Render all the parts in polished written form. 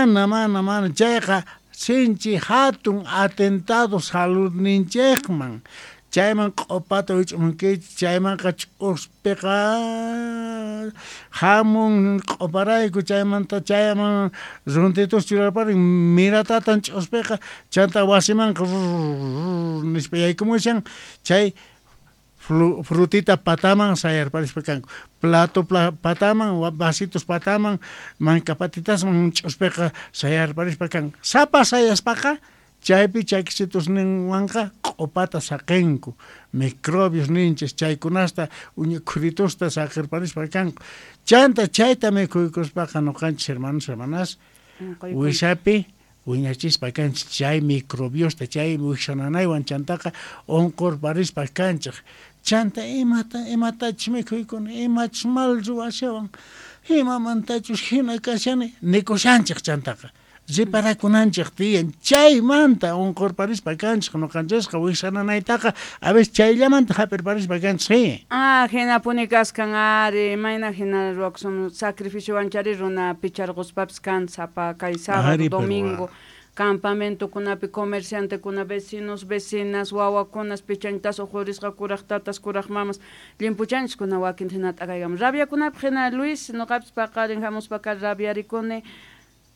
Mana, mana, mana. Chayqa sinchi hatun atentado saludninchikman. Chayman q'upata wich'umunkichik, chaymanqa ch'uspiqa hamun q'uparayku, chaymanta chayman runtitus churarparin, miratatan ch'uspiqa, chanta wasimanqa nispa yaykumushan, chay frutita pataman sayarparispa kanku, plato pataman, vasitos pataman, manka patitasman ch'uspiqa sayarparispa kanku. Sapa sayaspaqa chaypi chakisitusninwanqa q'upata saqenku, microbios ninchis chaykunasta uña khuritusta saqerparispa kanku. Chanta chayta mikhuykuspaqa noqanchis hermanos hermanas wisapi wiñachispa kanchis chay microbiosta, chay wijsananaywan chantaqa unqurparispa kanchik. Chanta imata imatachus mikhuykuni, imachus mal ruwashawan, imamantachus hina kashani nikushanchik chantaqa. Reparakunanchik tiyan chaymanta unqurparispa kanchik noqanchisqa wijsananaytaqa a veces chayllamanta hap'irparispa kanchik. Ah, hinapuni kaskan ari, mayna hina ruwakusun sacrificiowan chari runa picharquspapis kan sapa kay sábado, domingo, campamentokunapi comerciantekuna, vecinos, vecinas, wawakunas pichantas uqhurisqa kuraq tatas, kuraq mamas, llimpuchanchiskuna wakin hina t'akaykamun. Rabiakunapaq hina Luis, noqapis paqarin hamuspa kar rabiarikuni.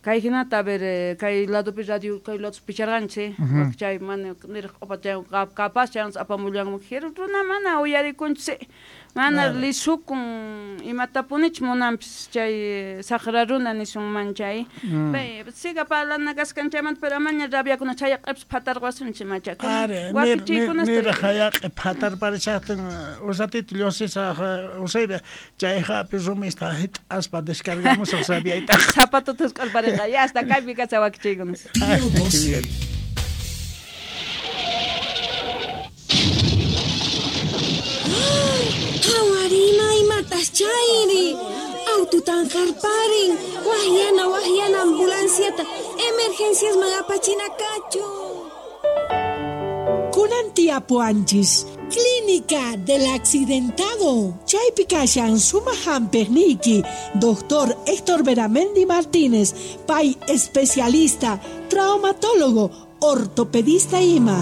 Kay hinata, a ver, kay ladopi radio, kay lados picharqanchik, chay mana niraq q'upa chay capaz chaywanpas apamullanman runa mana uyarikunchik, mana lisukun imatapunichu munanpis chay saqra runa nisunman chay. Siga parlana kaskan chaymanta, pero amaña rabiakuna chayaq'ipis phatarqasunchik machakuna. Wakichiykunasta. Niraq hayaq'i phatarparishaqtin usatito llusisaq usaypi chay hapi rumista hit'aspa descargamusaq rabiaytaqa. Zapatutas k'allpariqa, ya hasta kaypi kasha wakichiykunas. Qhawarina imatas chayri, aututan qarparin, waqyana waqyana ambulanciata, emergenciasman apachina kachu. Kunan tiyapuanchis, Clínica del Accidentado. Chaypi kashan sumaq hampiqniyki, Doctor Héctor Beramendi Martínez, pay especialista, traumatólogo, ortopedista ima.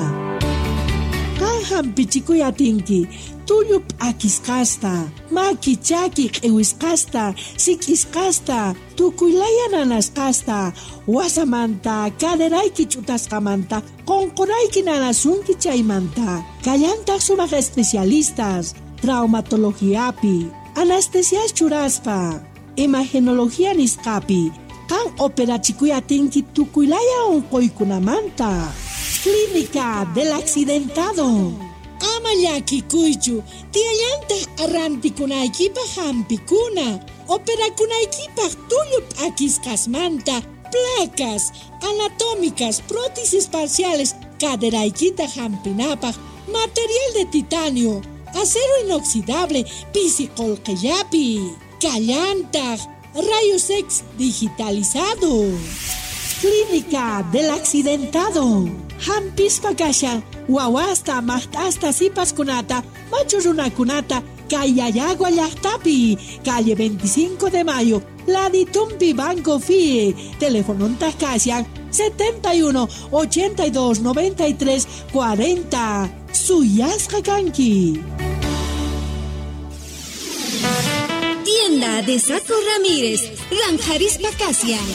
Qan hampichikuy atinki, tullu p'akisqasta, maki chaki q'iwisqasta, sik'isqasta, tukuylaya nanasqasta, wasamanta, caderayki ch'utasqamanta, qunqurayki nanasunki chaymanta. Kallantaq sumaq especialistas, traumatologiapi, anestesias churaspa, imagenología nisqapi, qan operachikuy atinki tukuylaya unquykunamanta. Clínica del Accidentado. Ama llakikuychu, tiyallantaq arrantikunaykipaq hampikuna, operakunaykipaq tullu p'akisqasmanta, placas anatómicas, prótesis parciales, caderaykita hampinapaq, material de titanio, acero inoxidable, pisi qullqillapi, kallantaq, rayos X digitalizado. Clínica del Accidentado. Hampispa kashan, wawasta, maqt'asta, sipaskunata, machu runakunata, kay Llallagua llaqtapi, calle 25 de Mayo, Laditumpi Banco FIE, telefonontaq kashan 71 82 93 40. Suyasqa kanki. Tienda de Saco Ramírez, Ranjarispa Kasian.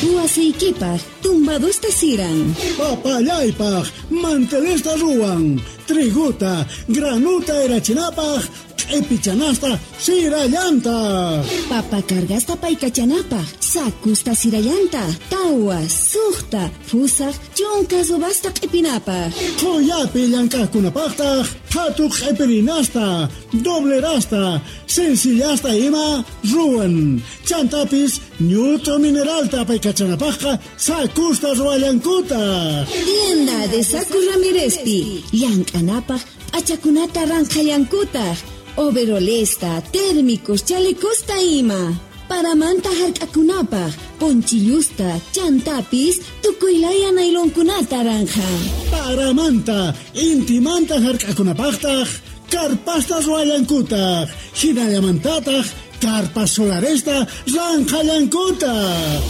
Huaseikipaj, tumbadusta siran. Papallaypaj, mantelesta ruwan. Triguta, granuta erachinapaj, q'ipichanasta sirallanta. Papa cargasta paykachanapaj, sakusta sirallanta, tawa, suqta, fusaj, chunka subasta q'ipinapaj. Qhuyapi llank'aqkunapaqtaq, phatu q'ipirinasta, doblerasta, sencillasta ima ruwan. Chantapis, ñut'u mineralta paykachanapajqa, sakusta ruwallankutaq. Tienda de Saco Ramírezpi, llank'anapaj, p'achakunata ranqhallankutaq. Overolesta, térmicos, chalecosta ima. Paramanta hark'akunapaj, ponchillusta, chantapis, tukuylaya nailonkunata ranja. Paramanta, intimanta hark'akunapajtaj, karpasta ruwallankutaq, hinallamantataq, karpas solaresta ranqhallankutaq.